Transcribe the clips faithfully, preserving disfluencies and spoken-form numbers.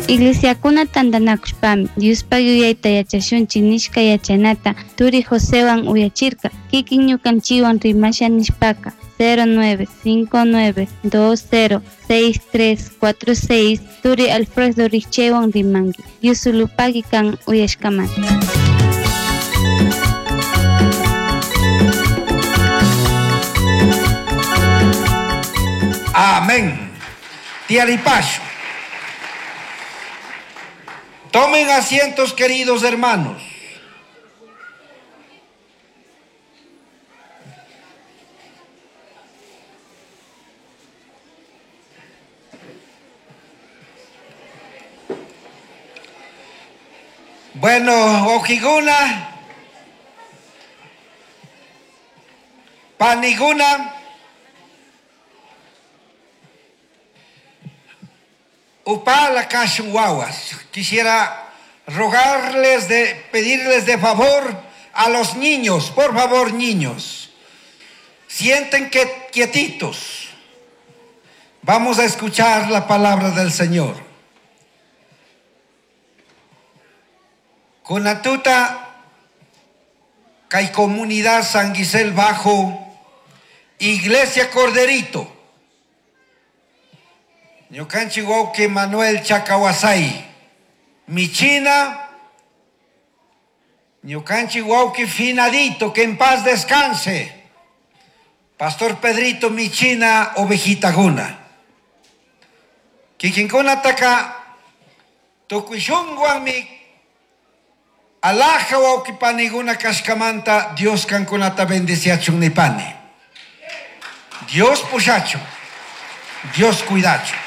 Iglesiakuna tantanakushpami Diospaq yuyayta yachashunchik nishka yachanata turi Josewan uyachirka kikin ñukanchikwan rimasha nishpaka cero nueve cinco nueve dos cero seis tres cuatro seis turi Alfredo Richewan rimanki Dios sulupaki kan uyashkamanta. Amén. Tiaripacho. Tomen asientos, queridos hermanos. Bueno, Ojiguna, Paniguna, Upala Kashuawas. Quisiera rogarles, de, pedirles de favor a los niños, por favor, niños, sienten que quietitos. Vamos a escuchar la palabra del Señor. Kunatuta, Kay Comunidad San Gisel Bajo, Iglesia Corderito, Ñukanchik wawqi Manuel Chakawasay, Michina, ñukanchik wawqi Finadito, que en paz descanse, Pastor Pedrito Michina, ovejita guna. Kikinkuna taka, tukuy shunguwanmi, alaja wawqi paniguna kashkamanta, Dios kankunata bendiciachun nipani. Dios pushachun, Dios cuidachun.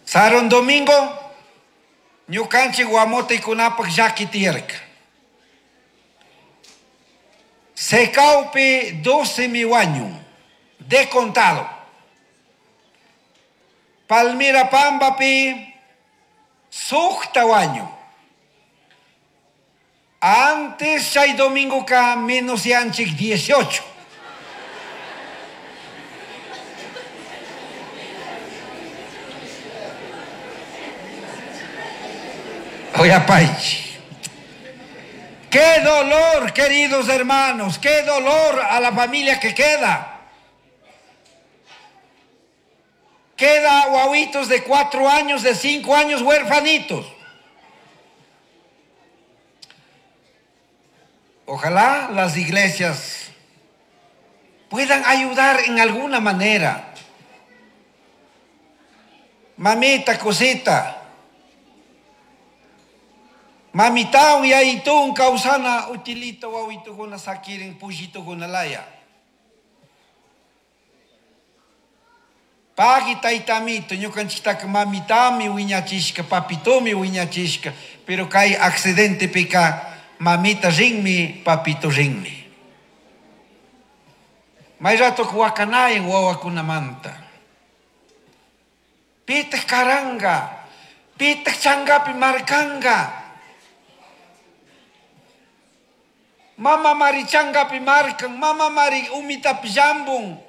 Saron domingo, ñukanchik guamotikunapak llaki tiyarka. Secaupi doce miwañu, de contado. Palmira Pambapi, sukta wañu. Antes chay domingo ka menos yanchik dieciocho. Oyapaichi. Qué dolor, queridos hermanos, qué dolor a la familia que queda. Queda guaguitos de cuatro años, de cinco años, huerfanitos. Ojalá las iglesias puedan ayudar en alguna manera. Mamita, cosita. Mamitaun yaitun causana utilito wawituguna sakirin pushituguna laya. Pagi taitamito, ñukanchiktaka mamitami wiñachishka, papitomi wiñachishka, pero kay accidente pika mamita rinmi, papito rinmi. May rato wakanayan wawakunamanta. Pitaq karanga, pitaq changapi markanga. Mama mari changapi markan, mama mari umitapi llambun.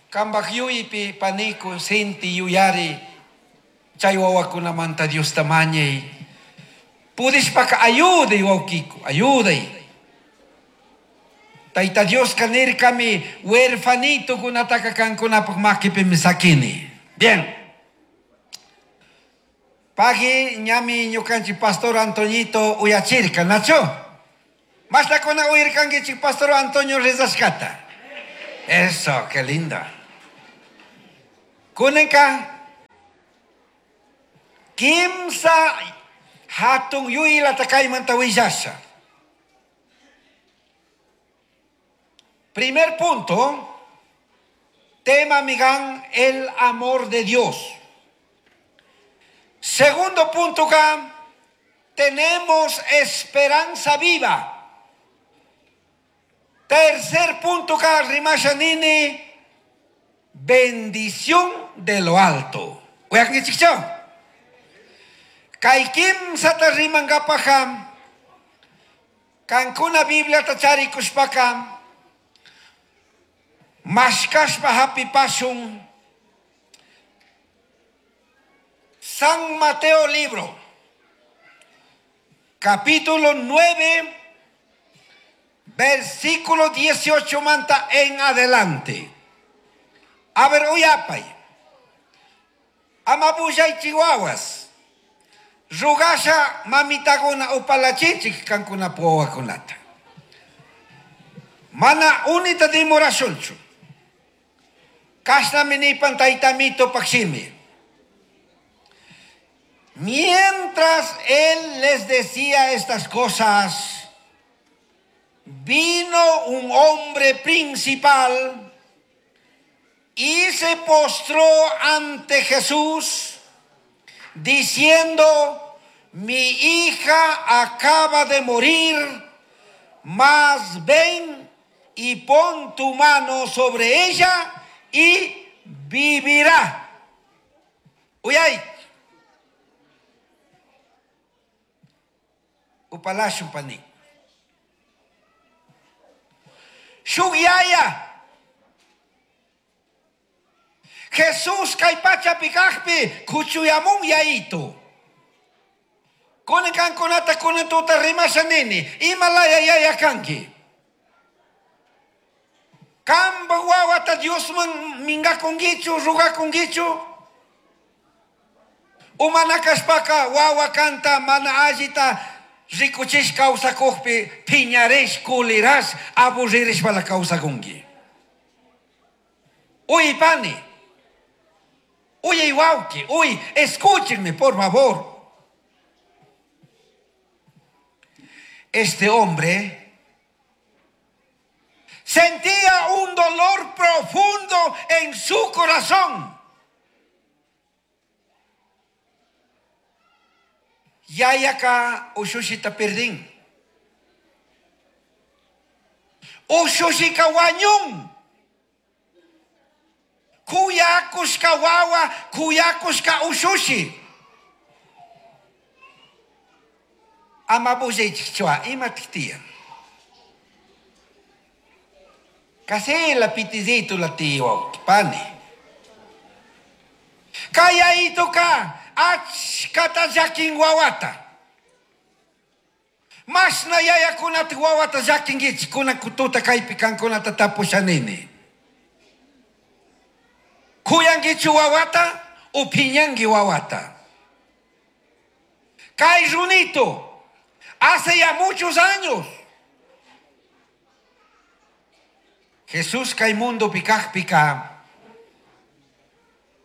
Kambaj yuypi paniku sinti yuyari chay wawakunamanta Dios tamañay. Pudishpaka ayuday wawkiku, ayuday. Tayta Dios kanirkami huerfanito kunataka kankunapaq makipimi sakini. Bien. Pagi ñami ñukanchik Pastor Antoñito uyachirka, Nacho. Mastakuna uyirkankichik Pastor Antonio rezashkata. Eso, qué linda. Kunenka kimsa hatun yuylata kaymanta willasha. Primer punto, tema migan el amor de Dios. Segundo punto acá, tenemos esperanza viva. Tercer punto acá, rimashanini, bendición de lo alto. Kay kimsa ta rimangapajam, kankuna Biblia tacharikushpaka, Mashkashpa hapipashun San Mateo libro, capítulo nueve, versículo dieciocho manta en adelante. A ver, uyapay. Amabuyay chihuahuas. Rugasha mamitaguna upalachichik kankuna puwakunata. Mana unita dimorashunchu. Kashnami nipan taytamito pakshimi. Mientras él les decía estas cosas, vino un hombre principal y se postró ante Jesús, diciendo: mi hija acaba de morir, mas ven y pon tu mano sobre ella y vivirá. Uyay. Upalashun pani. Shuk yaya. Jesús kay pachapi kajpi kuchuyamun yayito. Kunan kankunata kunan tuta rimasha nini. Imalaya yaya kanki. Kamba wawata Diosman mingakungichu, rugakungichu. Umana kashpaka wawa kanta mana allita rikuchish kawsakujpi piñarish, kulirash, aburririshpala kawsakunki. Uy pani, uy wauki, uy, escúchenme por favor. Este hombre sentía un dolor profundo en su corazón. Yayaka ushushita perdin. Ushushika wañun. Kuyakushka wawa, kuyakushka ushushi. Amabushechua, imatiktia. Kasi la pitizito la tiwa, pani. Kaya ito ka, achkata yakin wawata. Mas na yaya kunat wawata yakin gich, kuna kututa kaypi kankunata tapushanini. Kuyangichu wawata, upiñangi wawata. Kay runito, hace ya muchos años. Jesús kay mundo pikaj pika.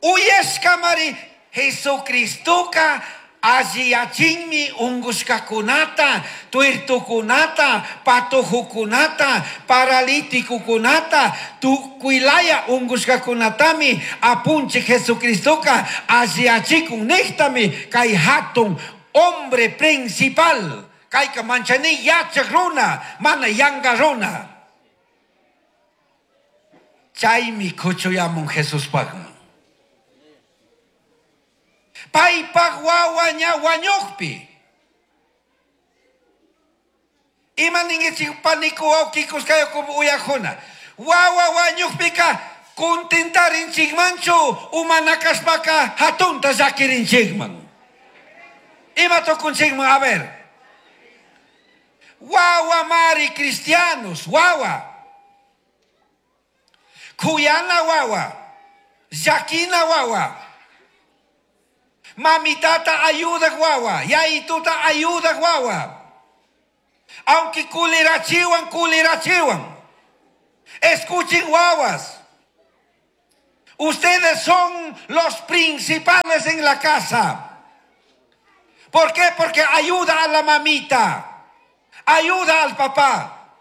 Uyeshka mari Jesucristoka alliyachinmi ungushkakunata, tuertukunata, patojukunata, paralítikukunata, tukuylaya ungushkakunatami apunchi Jesucristoka alliyachikun nihtami kay hatun hombre principal. Kayka manchani yachak runa, mana yanga runa. Chaymi kuchuyamun Jesuspaqman. Paypaq wawa ña wañuqpi. Ima ninkichik paniku wawqikus kayku uyaqkuna. Wawa wañuqpika contentarinchikmanchu umanakashpaka hatunta llakirinchikman. Ima tukunchikman, a ver. Wawa mari cristianos, wawa. Kuyana wawa, llakina wawa. Mamitata ayuda wawa, yayituta ayuda wawa. Aunque kulirachiwan, kulirachiwan. Escuchen wawas. Ustedes son los principales en la casa. ¿Por qué? Porque ayuda a la mamita, ayuda al papá.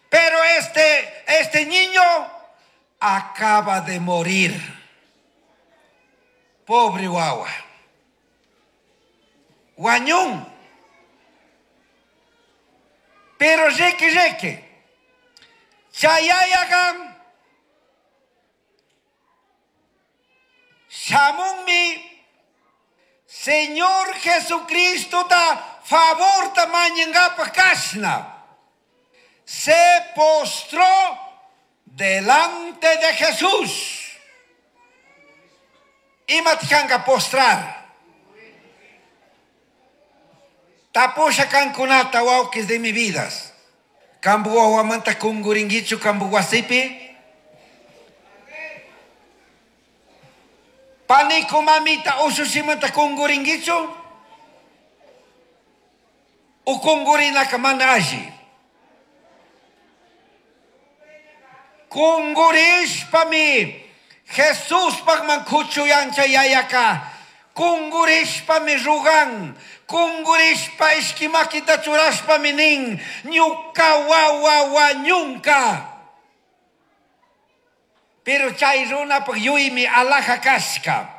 Pero este, este niño acaba de morir. Pobre wawa. Wañun. Pero reque reque. Chayayagan. Shamunmi. Señor Jesucristo ta favor ta mañangapa kashna. Se postró Delante de Jesús. Ima postrar. Tapusha kankunata wawkis de mi vidas. Kambu wawamanta kunguringuichu kambu wasipi. Panico mamita usushimanta kunguringuichu. U kungurinaka mana alli. Kungurishpami Jesús pagman kuchuyancha yayaka. Kungurishpami rugan. Kungurishpa ishkimakita churashpami nin. Ñuka wawa wañunka. Pero chay runapaq yuymi alaja kashka.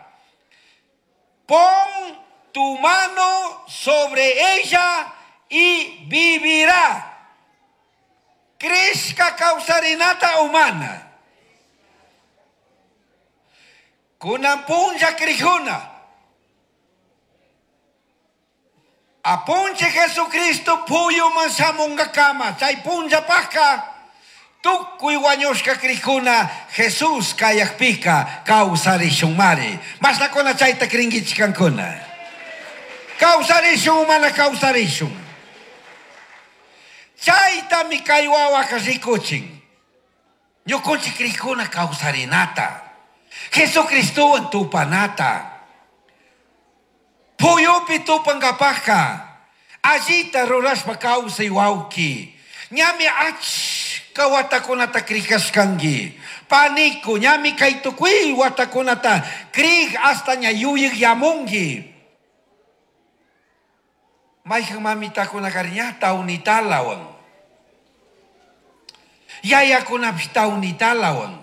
Pon tu mano sobre ella y vivirá. Crezca kawsarinata humana. Kunan punlla krijuna. Apunche Jesucristo puyuman shamunkakama. Chay punlla pajka. Tukuy wañushka krijuna Jesús kayakpika kawsarishunmari. Mashnakuna chayta krinkichik kankuna. Kawsarishun mana kawsarishun. Chaytami kay wawaka rikuchin. Ñukunchik krijuna kawsarinata. Jesucristowan tupanata. Puyupi tupankapajka. Allita rurashpa kawsay wawki. Ñami achka watakunata krikashkanki. Panico, ñami kay tukuy watakunata krik hasta ña yuyik yamunki. Mayhan mamitakuna ña tawnitalawan. Yayakunapish tawnitalawan.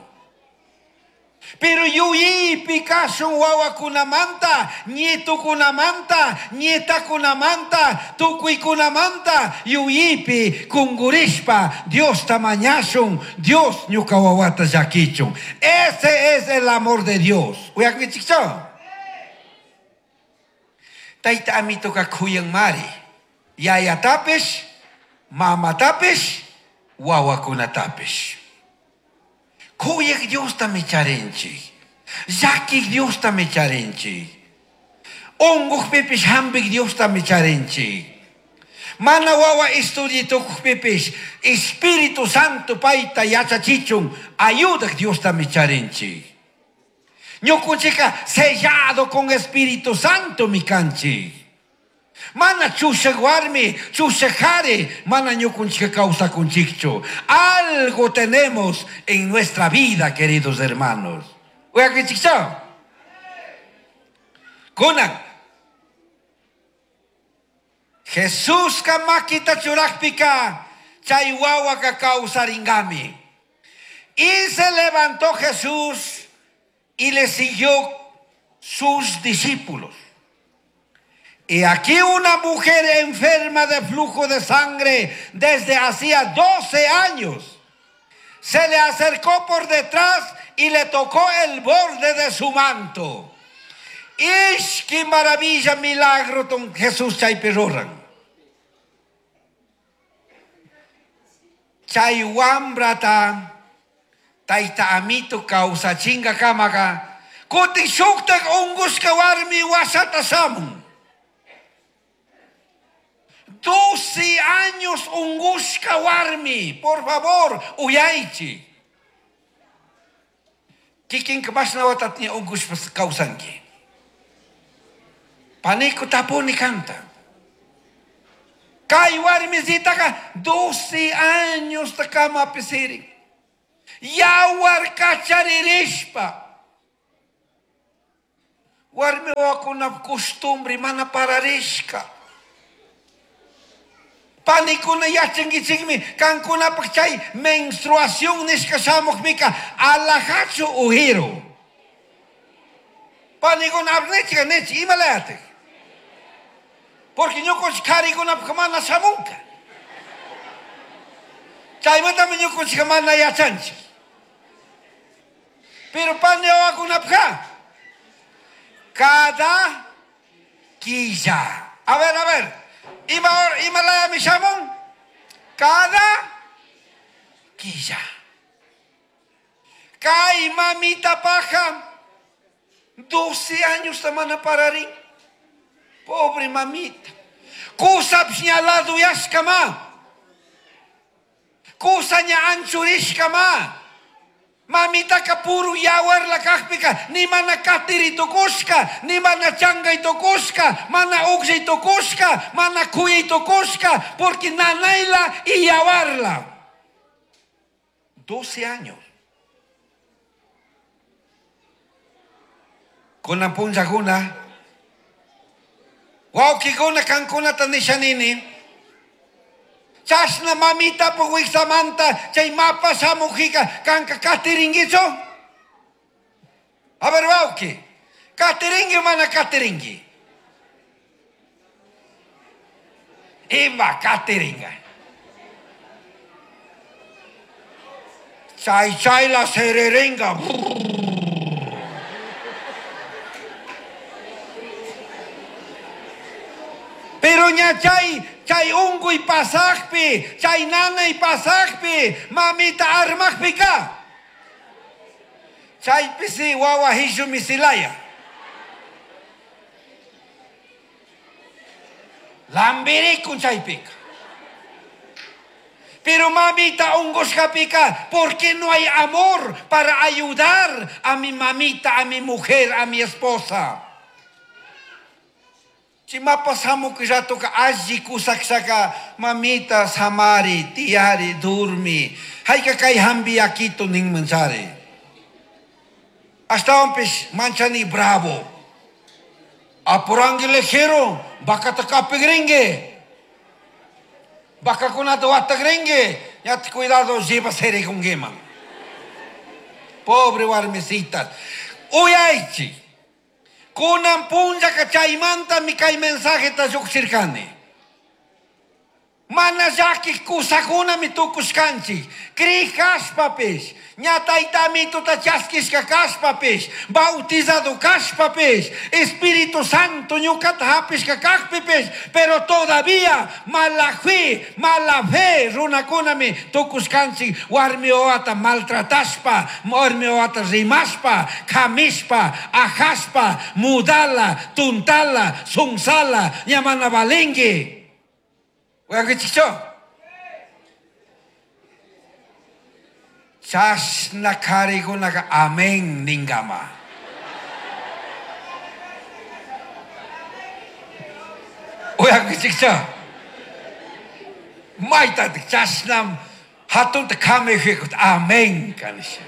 Pero yuyipi kashun wawakunamanta, nietukunamanta, nietakunamanta, tukuykunamanta, yuyipi kungurishpa Diosta mañashun, Dios ñuka wawata llakichun. Ese es el amor de Dios. Uyakunkichikchu? Tayta amituka kuyanmari. Yayatapish, mamatapish, wawakunatapish. Kuyaq Diosta micharinchik. Llakiq Diosta micharinchik. Unquqpipish hampiq Diosta micharinchik. Mana wawa estudiitukuqpipish Espíritu Santo payta yachachichun ayudaq Diosta micharinchik. Ñukunchikka sellado con Espíritu Santo mikanchik. Mana chushaq warmi, chushaq qhari, mana ñukunchikka kawsakunchikchu. Algo tenemos en nuestra vida, queridos hermanos. Uyakunchikchu? Kunan. Jesusqa makita churaqpika, chay wawaka kawsarinkami. Y se levantó Jesús y le siguió sus discípulos. Y aquí una mujer enferma de flujo de sangre desde hacía doce años se le acercó por detrás y le tocó el borde de su manto. ¡Ish, qué maravilla, milagro don Jesús chaypi ruran! Chay wambrata tayta amito kawsachinkakamaka kutin shuktak unqushka warmi wasata shamun. Doce años ungushka warmi, por favor, uyaychi. Kikinka mashna watatña ungushpa kawsanki. Panico tapuni kanta. Kay warmisitaka doce años takama pisirin. Yawar kacharirishpa. Warmi wakuna costumbre mana pararishka. Panikuna yachankichikmi kankunapaq chay menstruación nishka shamuqmika alajachu ujiru. Panikuna abnechika nechi imalayatik. Porque ñukunchik qharikunapaq mana shamunka. Chaymantami ñukunchikqa mana yachanchik. Pero pani wawakunapaqqa cada quilla. A ver, a ver. Ima imalayami shamun cada quilla. Kay mamita paja doce años mana pararin. Pobre mamita. Kusap ñalado yashkama. Kusaña anchurishkama. Mamita kapuru yawar la kakpika, ni mana katiri tukushka, ni mana changay tukushka, mana ukshay tukushka, mana kuyay tukushka, porque nanayla y yawarla. doce años. Kunan punllakuna, wawkikuna kankunata nishanini. Chashna mamita puwiksamanta chay mapa shamujica kanka katiringuichu. A ver, wawki, katiringui mana katiringui. Ima katiringa. Chay chay la sererenga. Pero ña chay, chay unguy pasajpi, chay nanay pasajpi, mamita armajpika. Chay pisi wawa hishu misilaya. Lambirikun chaypika. Pero mamita ungushkapika, ¿por qué no hay amor para ayudar a mi mamita, a mi mujer, a mi esposa? Chimapa samuk ratoka alli kusaksaka mamita samari tiyari durmi hayka kay hambi akito ninmanchari. Ashtawanpish manchani bravo. Apurangi lejero, bakata kapigringue. Bakakunata watagringue. Ya te cuidado lleva sere con geman. Pobre warmisitas. Uyaichi. Kunan punllaka chaymanta mi kay mensajeta lluqshirkani. Mana llakiq kusakunami tukushkanchik. Kriq kashpapish, ña taytamituta chaskishka kashpapish, bautizado kashpapish, Espíritu Santo ñuqata hapishka kaqpipish, pero todavía mala fe, mala fe runakunami tukushkanchik warmi wawata maltratashpa, warmi wawata rimashpa, kamishpa, ajashpa, mudala, tuntala, sunsala, ña mana valinki. Uyankichikchu? Chashna karikunaka amén ningama. Uyankichikchu? Maytatik chashnam hatunta kamejikut amén kanisha.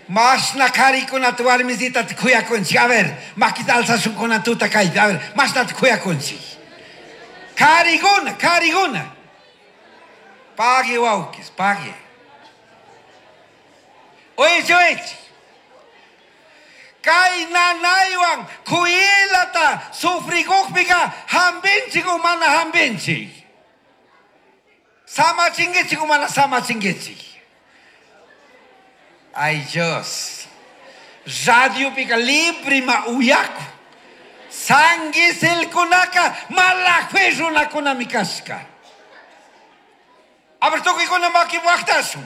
Mashna karikunata warmisitata kuyakunchik. A ver, makita alzashunkunata tuta kaypi. A ver, mashnata kuyakunchik. Karikuna, karikuna. Pague, wawkis, pague. Oye, oye. Kay nanaywan kuyilata sufrikuqpika hampinchik o mana hampinchik. Samachinkichik o mana samachinkichik. Ay Dios. Radio pika librima uyaku. Sanguisilkunaka mala fe runakunami kashka. A ver, tukuykuna maki waqtashun.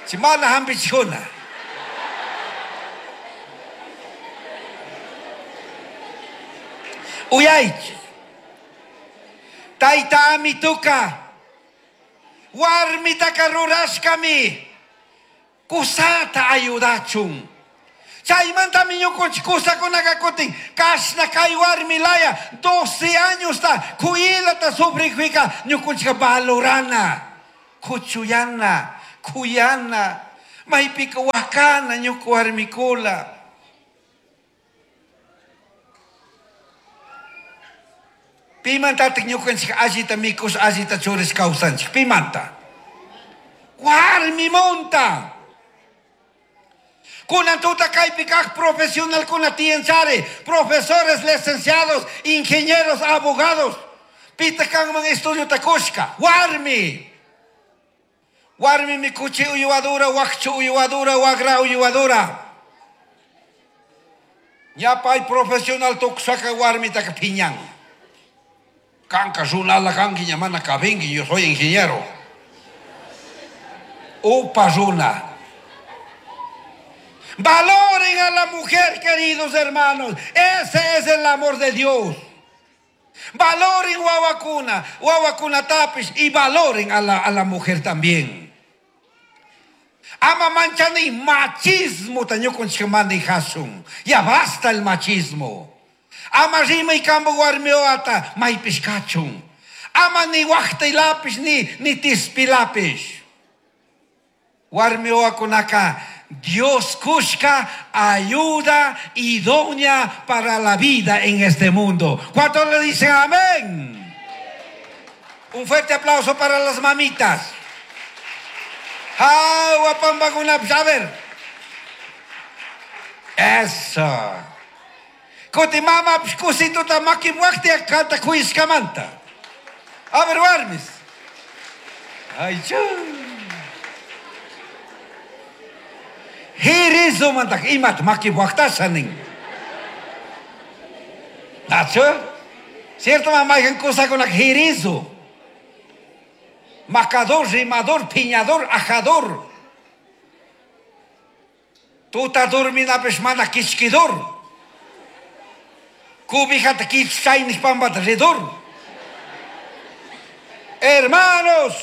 Chi mana hampichikuna. Uyaychik. Tayta amituka. Warmitaka rurashkami. Kusata ayudachun. Chaymantami ñukunchik kusakunaka kutin kashna kay warmilaya doce años ta kuyilata sufrikuyka ñukunchika valorana, kuchuyana, kuyana, maypika wakana ñuku warmikula. Pimantatik ñukunchik allita mikus allita churis kawsanchik. Pimanta. Warmimunta. Kunan tuta kaypi kaq profesional kuna tiyanchari, profesores, licenciados, ingenieros, abogados. Pita kanman estudio takushka. Warmi. Warmi mi kuchi uyuadura, wakchu uyuadura, wagra uyuadura. Ñapay profesional tukusaka warmitaka piñan. Kanka runala kanki ñamana kabinki, yo soy ingeniero. Upa runa. Valoren a la mujer, queridos hermanos. Ese es el amor de Dios. Valoren wawakuna, wawakuna tapish y valoren a la, a la mujer también. Ama manchani machismo tañukunchikmani hasun. Ya basta el machismo. Ama rimay kambo warmioata maypish kachun. Ama ni waqtaylapish ni ni tispilapish. Warmioakunaka Dios kushka ayuda idónea para la vida en este mundo. ¿Cuántos le dicen amén? Un fuerte aplauso para las mamitas. A ver. Eso. Kuti mama kusituta makiwakti kanta kuiskamanta. A ver, warmis. Ay, chu. Hirizo mantak imat makiwaktasanin. Nacho? Cierto mamá cosa con la hirizo. Macador, rimador, piñador, ajador. Tuta dormina peshmana kichkidor. Cubijata kichchainis pambata redor. Hermanos,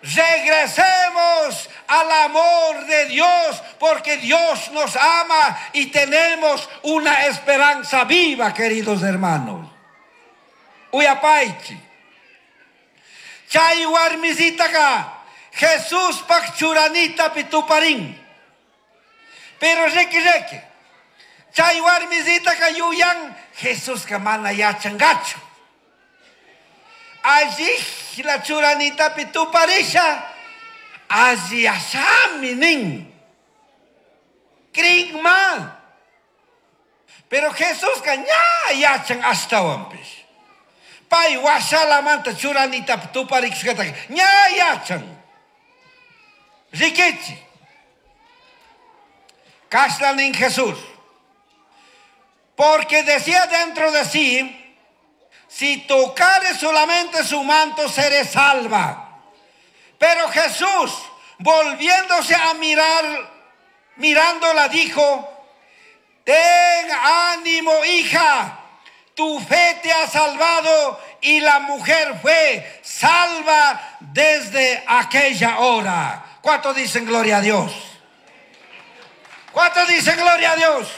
regresemos al amor de Dios, porque Dios nos ama y tenemos una esperanza viva, queridos hermanos. Uyapaichi. Chay warmisitaka Jesús pak churanita pituparin. Pero reki reki. Chay warmisitaka yuyan Jesús ka mana yachangachu. Allí la churanita pituparisha. Allí asami nin. Kringma. Pero Jesús ka ña yachan ashtawanpish. Pay washalamanta churanita tuparikushkata ña yachan. Rikichi. Kashla nin Jesús. Porque decía dentro de sí, si tocare solamente su manto, seré salva. Pero Jesús, volviéndose a mirar, mirándola, dijo, ten ánimo, hija, tu fe te ha salvado. Y la mujer fue salva desde aquella hora. ¿Cuántos dicen gloria a Dios? ¿Cuántos dicen gloria a Dios?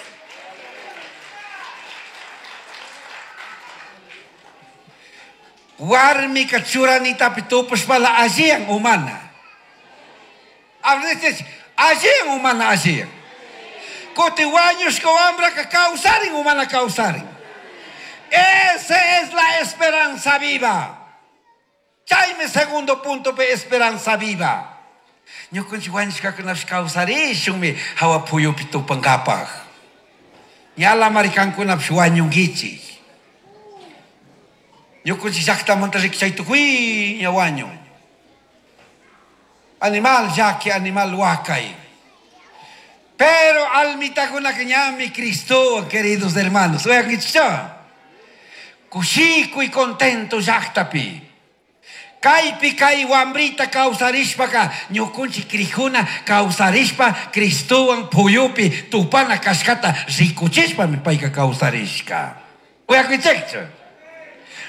Warmi churanita pitupushpala alliyan humana. Alliyan humana alliyan. Kuti wañushka wambraka kawsarin humana kawsarin. Esa es la esperanza viva. Chaymi segundo punto pe esperanza viva. Ñukanchik wañushkakunapish kawsarishunmi hawa puyupi tupankapaj. Ñala marikankunapish wañunkichik. Ñukanchik llaqtamanta rikchay tukuy ña wañun. Animal llaki, animal wakay. Pero almitakunaka ñami Cristo, queridos hermanos. Uyankichik. Kushiku y contento llaqtapi. Kaypi kay wambrita kawsarishpaka ñukunchik krijuna kawsarishpa Cristowan puyupi tupana kashkata rikuchishpami payka kawsarishka. Uyakichikchu.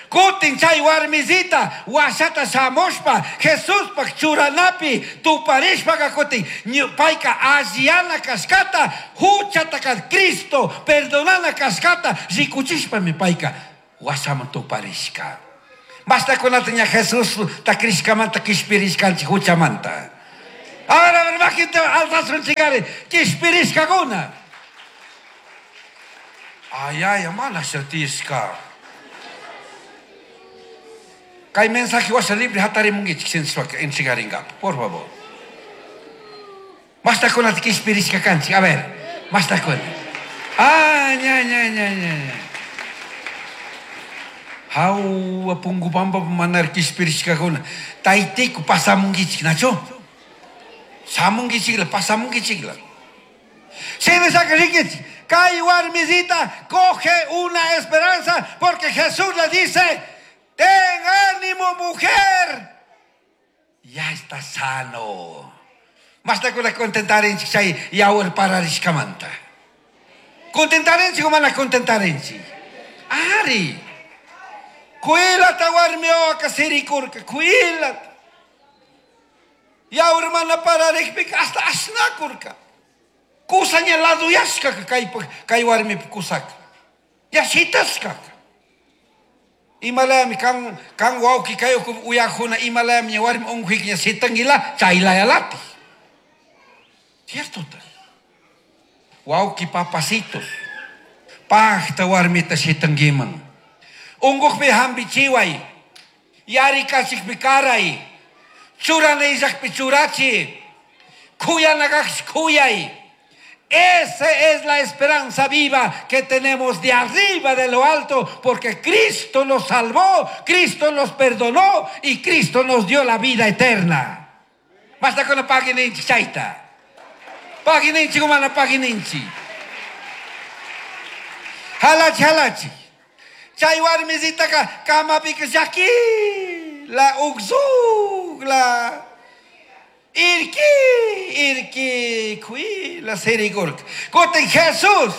Kutin chay warmisita washata shamushpa Jesuspaj churanapi tuparishpaka kutin payka alliyana kashkata huchataka Cristo perdonana kashkata rikuchishpami payka washaman tuparishka. Basta kunata ña Jesús ta krishkamanta kishpirishkanchik huchamanta. A ver, a ver, bajita alzasunchikari kishpirishkakuna. Ay, ay, mana shatishka. Kay mensaje washa libre hatarimunkichik sinchishpaka entregaringapa, por favor. Basta kunata kishpirishka kanchik, a ver, basta kuna. Ah, ña, ña, ña, ña, ña. Hawa pungu pampa manar kishpirishkakuna. Taytiku pasamunkichik, nacho? Shamunkichikla, pasamunkichikla. Shinashaka rikichik, kay warmisita coge una esperanza porque Jesús le dice, Ten ánimo, mujer. Ya está sano. Mashtakuna contentarinchik chay yawar pararishkamanta. Contentarinchik o mana contentarinchik. Ari. Kuilata warmi wawaka sirikurka, kuilata. Yawar mana pararikpika hasta ashnakurka. Kusaña laduyashkaka kaypa kay warmipa kusaka. Ya shitashkaka. Imalayami kan kan wawki kay uyajuna imalayami ña warmi unquyka ña shitanguila chaylayalati. Cierto ta. Wawki papacitos. Pajta warmita shitanguiman. Unqukpi hampichiway. Yarikachikpi karay. Churana illakpi churachi. Kuyanakaqshi kuyay. Esa es la esperanza viva que tenemos de arriba de lo alto, porque Cristo nos salvó, Cristo nos perdonó y Cristo nos dio la vida eterna. Basta con la pagininchi chaita. Pagininchi como la pagininchi. Halachi halachi. Chay warmisita ka kamapika llaki la uxug la irki irki kui la serigurka. Kutin Jesús.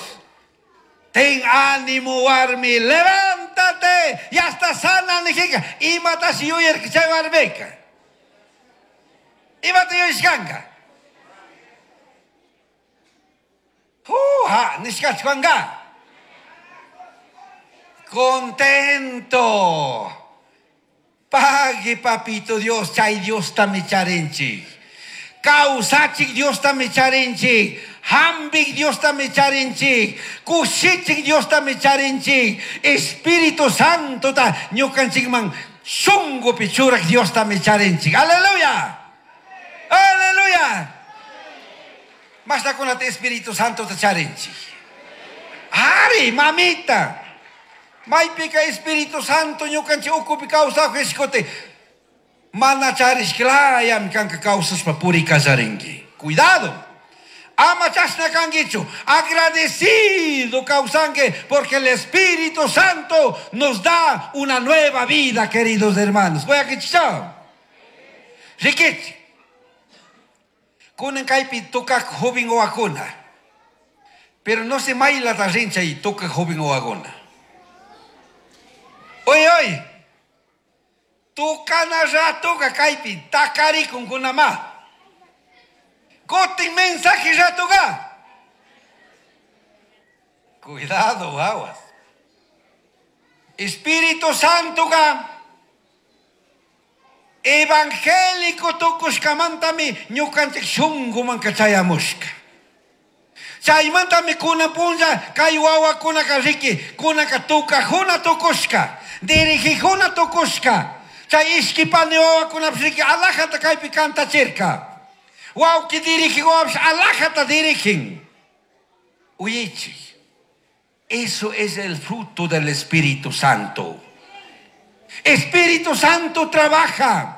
Ten ánimo warmi, levántate, ya está sana nijika. Imatashi yuyarka chay warmika. Imata yuyashkanka. Juja, nishkachkanka. Contento. Pague, papito Dios, chay Dios tamicharinchik. Kawsachik Dios tamicharinchik. Hambik Dios tamicharinchik. Kushichik Dios tamicharinchik. Espíritu Santo ta ñukanchikman shungupi churak Dios tamicharinchik. Aleluya. Aleluya. Mashtakunata Espíritu Santo ta charinchik. Ari, mamita. Maypika Espíritu Santo ñukanchik ukupi kawsaj ishkote. Mana charishklayami kanka kawsashpa purikallarinki. Cuidado. Ama chashna kankichu. Agradecido kawsanki porque el Espíritu Santo nos da una nueva vida, queridos hermanos. Voy a kichao. Rikichi. Kunan kaypi tukaq joven wawakuna. Pero no se maylata rin chay tukaq joven wawakuna. Oy, oy. Tukana ratuka kaypi takarikun kunama. Kutin mensaje ratuka. Cuidado, aguas. Espíritu Santo ga evangélico tukushkamantami ñukanchik shunguman kachayamushka. Chaymantami kuna punlla kay wawakunaka riki kunaka tukajuna tukushka, dirigijuna tukushka. Chay ishkipani wawakunapish riki alajata kaypi kantachirka. Wawki dirigij wawapish alajata dirigin. Uyaychik. Eso es el fruto del Espíritu Santo. Espíritu Santo trabaja.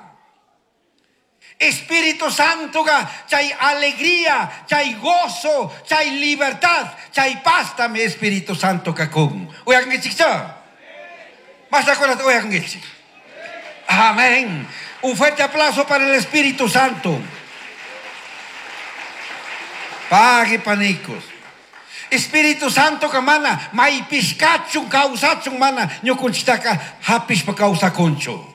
Espíritu Santo ga chay alegría, chay gozo, chay libertad, chay paz también Espíritu Santo kakun. Uyankichik cha. Mashtakunata uyankichik. Amén. Un fuerte aplauso para el Espíritu Santo. Pague panicos. Espíritu Santo ka mana maypishkachun kawsachun mana ñukunchiktaka hapishpa kawsakunchu.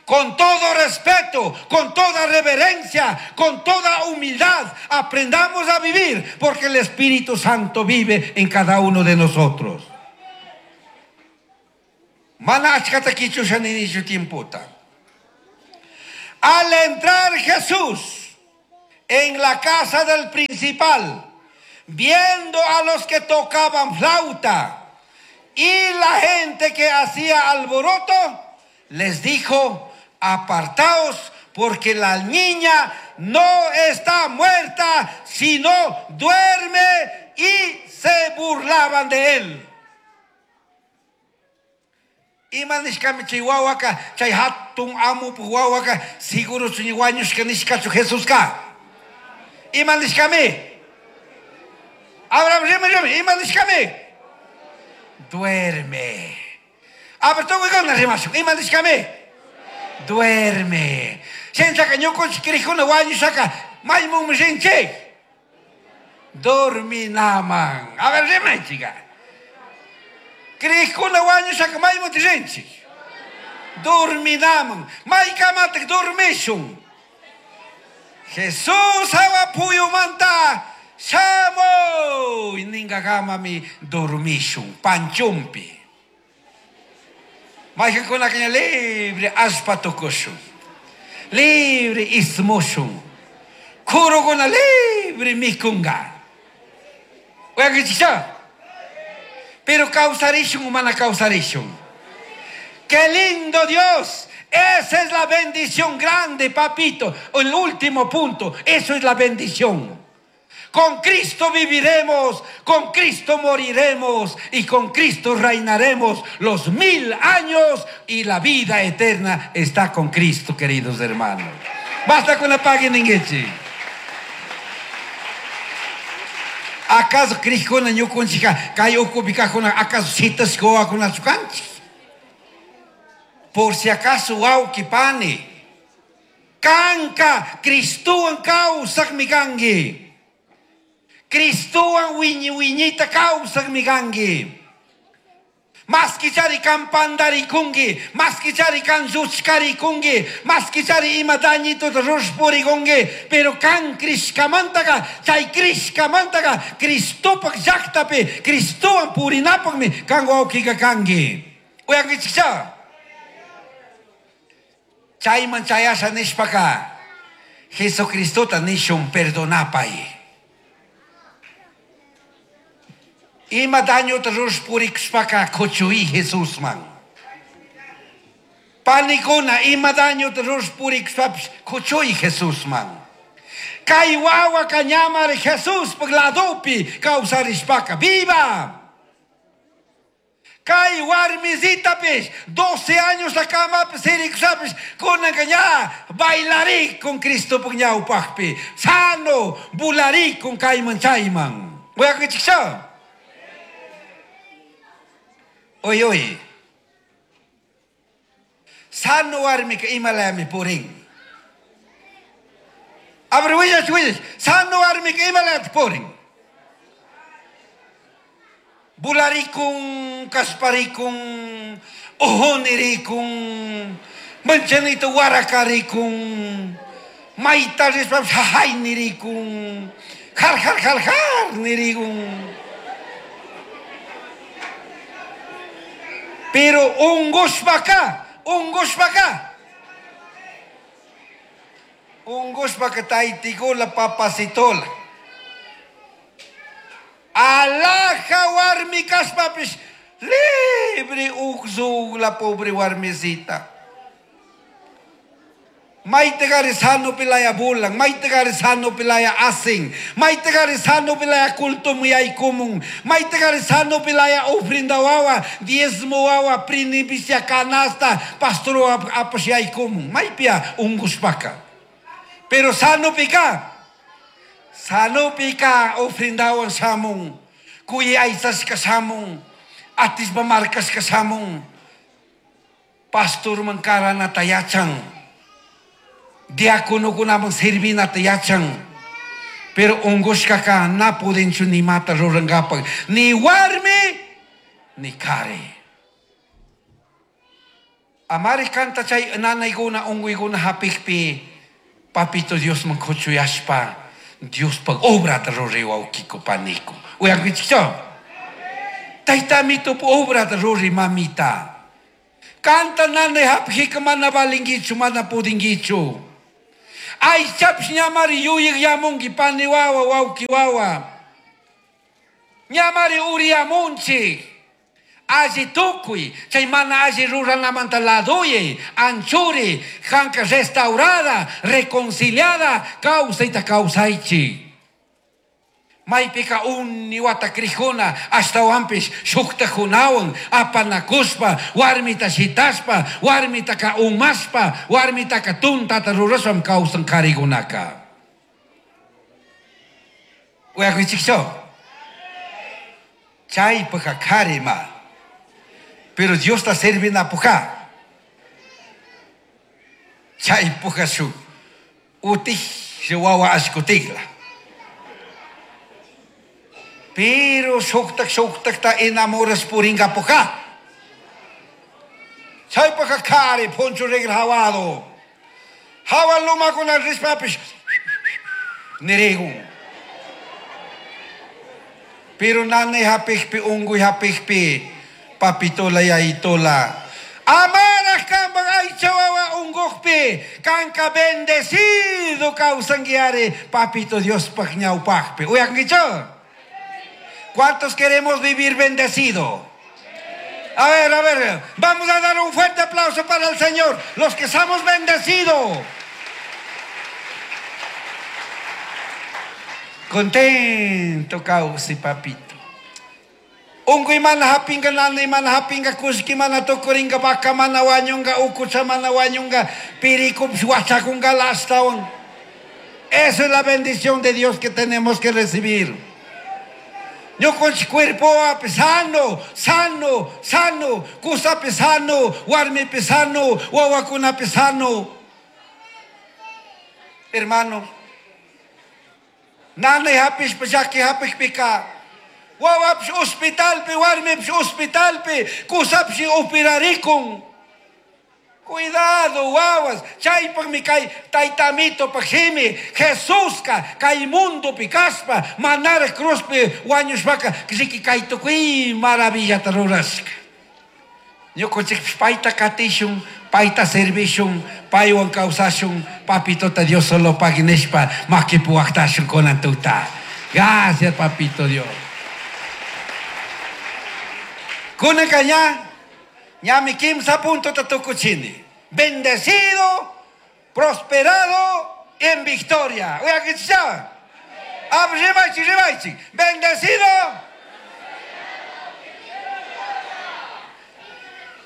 Con todo respeto, con toda reverencia, con toda humildad, aprendamos a vivir, porque el Espíritu Santo vive en cada uno de nosotros. Mana achkata kichusha ninichu tiempota. Al entrar Jesús en la casa del principal, viendo a los que tocaban flauta y la gente que hacía alboroto, les dijo: apartaos, porque la niña no está muerta, sino duerme. Y se burlaban de él. Ima nishkami chay wawaka, chay hatun amupu wawaka, seguro chuñi wañushka nishkachu Jesuska. Ima nishkami. Abraham, rima, rima, ima nishkami. Duerme. A ver, tukuna rimashun. Ima nishkami? Duerme. Shinchaka ñukunchik crikuna wañushaka maymunmi rinchik. Dorminaman. A ver, rimaychika. Crikuna wañushaka maymunta rinchik. Dorminaman. Maykamatak dormishun. Jesús hawa puyumanta shamuy ninkakamami dormishun panchumpi. Maykankunaka ña libre allpa tukushun. Libre ismushun. Kurukuna libre mikunga. Uyankichikcha? Pero kawsarishun o mana kawsarishun. ¡Qué lindo Dios! Esa es la bendición grande, papito. El último punto, eso es la bendición. Con Cristo viviremos, con Cristo moriremos y con Cristo reinaremos los mil años y la vida eterna está con Cristo, queridos hermanos. Basta con la página en ¿Acaso Cristo ñukunchika kay ukupi kajkuna acaso shitashka wawakunachu kanchik? Por si acaso wawqi pani, kanka Cristowan kawsaqmi kanki. Cristowan wiñi wiñita kawsaqmi kanki. Maskichari kan pandarikunki, maskichari kan lluchkarikunki, maskichari ima dañituta rushpurikunki, pero kan crishkamantaka, chay crishkamantaka, Cristopaq llaqtapi, Cristowan purinapaqmi kan wawqika kanki. Uyankichikcha? Chayman chayasha nishpaka, Jesucristota nishun perdonapay. Ima dañota rushpurikushpaka kuchuy Jesusman. Panikuna ima dañota rushpurikushpapish kuchuy Jesusman. Kay wawaka ñamari Jesuspaj ladopi kawsarishpaka viva. Kay warmisitapish doce años la camapi sirikushapish kunanka ña bailarikun Cristopaj ñawpajpi sano bularikun kayman chayman. Uyankichikcha? Oy, oy. Sano warmika imalami purin. A ver, willach, willach. Sano warmika imalami purin. Bularikun, kasparikun, ojonirikun, manchanito warakarikun, mayta rishpapish jajaynirikun, jar jar jar jar nirikun. Pero ungushpaka, ungushpaka. Ungushpaka taytikula papacitola. Alaja warmi kashpapish libre uqzugla pobre warmisita. Maytagari sano pilaya bulan, maytagari sano pilaya asin, maytagari sano pilaya culto muyaykumun, maytagari sano pilaya ofrenda wawa, diezmo wawa, prinipicia canasta, pastor apashaykumun, maypia ungushpaka. Pero sano pika, sano pika ofrendawan shamun, kuyaysashka shamun, atispa markashka shamun, pastorman karanata yachan. Diáconokunaman servinata yachan. Pero ungushkaka na pudinchu ni mata rurankapak, ni warmi ni kari. Amari kanta chay nanaykuna unguykuna hapikpi papito Diosman kuchuyashpa Diospaq obrata ruray wawqiku paniku. Uyankichikchu? Taytamitup obrata ruray mamita. Kanta nanay hapikika mana valinkichu, mana pudinkichu. Aychapish ñamari yuyaq yamunki pani wawa wawqi wawa. Ñamari uriyamunchik. Alli tukuy, chay mana alli ruranamanta ladoyay, anchuri, kanka restaurada, reconciliada, kawsayta kawsaychik. Maypika uni wata krijuna, ashtawanpish shuktakunawan, apanakushpa, warmita shitashpa, warmitaka umashpa, warmitaka tuntata rurashpam kawsan karikunaka. Uyakuchikchu? Chaypaka karima. Pero Dios ta servina puja. Chay puja shu. Utij wawa ashkutigla. Pero shuktak shuktak ta enamoras puringa puja. Chay puja kari poncho regla hawado. Hawa luma con el rispapish. Nirigun. Pero nane hapikpi unguy hapikpi papitola yaitola. Amara kambang ay chawawa ungukpi kanka bendecido causanguiare papito Dios pagñaupakpi. Uyanguicho. ¿Cuántos queremos vivir bendecido? A ver, a ver, vamos a dar un fuerte aplauso para el Señor, los que somos bendecidos. Contento causi papito. Ungu imana hapinga nana imana hapinga kushki mana tokuringa baka mana wanyunga ukucha mana wanyunga piriku huachakunga lastawan. Esa es la bendición de Dios que tenemos que recibir. Yo con su cuerpo sano, sano, sano, kusa pesano, warmi pesano, wawakuna pesano. Hermano, nana hapish pajaki hapish pika. Wawapsh hospitalpi, warmipsh hospitalpi, kusapshi operarikun. Cuidado, wawas, chaypaq mi kay taytamito paqhimi, Jesuska kay mundo pikaspa, manara cruzpi wañushpaka, riki kay tukuy maravillata rurashka. Ñuqanchikpish payta katishun, payta servishun, paywan kawsashun, papitota Dios solo pagui nishpa, makipuwaqtashun kunan tuta. Gracias, papito Dios. Kunanka ña, ñami kimsa punto tatukuchini. Bendecido, prosperado en victoria. Bendecido.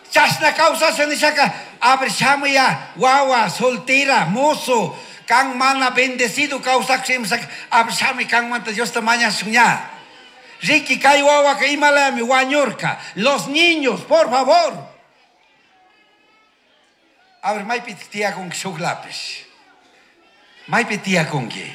Chasna causa se nishaka. Abre shamuya, wawa, soltera, mozo, kan mana bendecido causa ximsak. Abre shami kan manta Dios te maña suña. Riki kai wawa que imalami wañurka. Los niños, por favor. A ver, maypi tiyakunki shuk lapis. Maypi tiyakunki.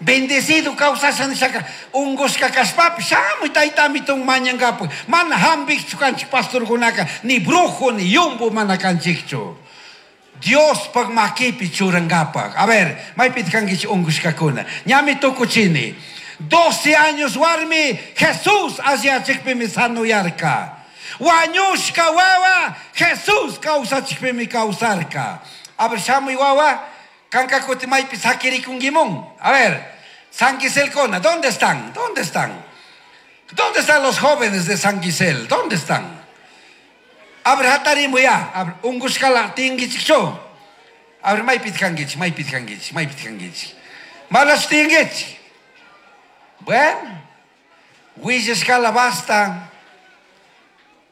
Bendecido kawsasha nishaka unqushka kashpapish shamuy taytamitun mañankapak. Mana hampikchu kanchik pastorkunaka, ni brujo ni yumbo mana kanchikchu. Diospaq makipi churankapak. A ver, maypi kankichik unqushkakuna. Ñami tukuchini. doce años warmi Jesús alliyachikpimi sanuyarka. Wañushka wawa Jesús kawsachikpimi kawsarka. A ver, shamuy wawa, kanka kuti maypi sakirikunkimun. A ver, San Quiselcona, ¿dónde están? ¿Dónde están? ¿Dónde están los jóvenes de San Quisel? ¿Dónde están? A ver, hatarimu ya. A ver, ungushkala tinkichikchu. A ver, maypi kankichik, maypi kankichik, maypi kankichik. Manachu tinkichik. Bueno, willashkala basta.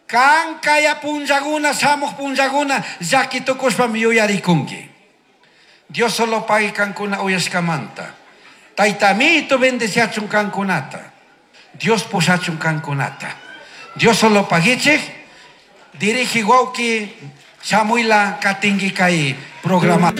Kankaya punllakuna, shamuq punllakuna, llaki tukushpami yuyarikunki. Dios solo pagui kankuna uyashkamanta. Taytamito bendeciachun kankunata. Dios pushachun kankunata. Dios solo paguichik. Dirige wawki shamuila katinki kay programa.